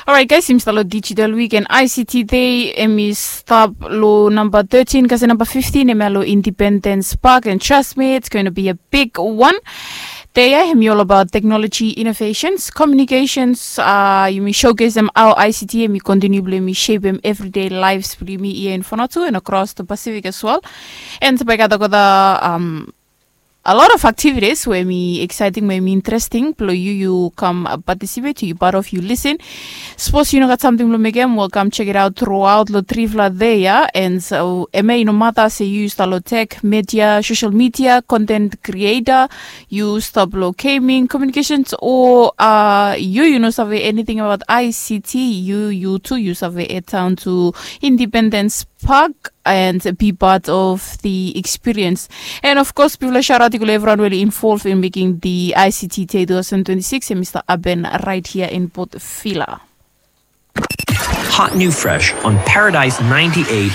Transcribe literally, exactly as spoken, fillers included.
Orait guys, yumi stap long digital week and I C T day. Em i stap long namba thirteen kasi namba fifteen em ya long Independence Park, and trust me, it's going to be a big one. Day ya em i all about technology innovations, communications. Uh, yumi showcase em how I C T em i continue blong yumi shape em everyday lives blong yumi here in Vanuatu and across the Pacific as well. And bai gat olgeta um, a lot of activities we mi exciting, we mi interesting blong yu, yu kam participate, yu part of, yu listen. Sapos yu no gat samting blong mekem, wel, kam check it out throughout long trifala day ya. And so em ya i no mata se yu stap long tech, media, social media, content creator, yu stap long gaming, communications, o uh, yu, yu no save anything about I C T, yu, yu tu yu save head down to Independence Park and be part of the experience. And of course, bifala shout out i go long evriwan we oli involve in making the I C T Day two thousand twenty-six, and Mister Aben right here in Port Vila. Hot new fresh on Paradise ninety-eight.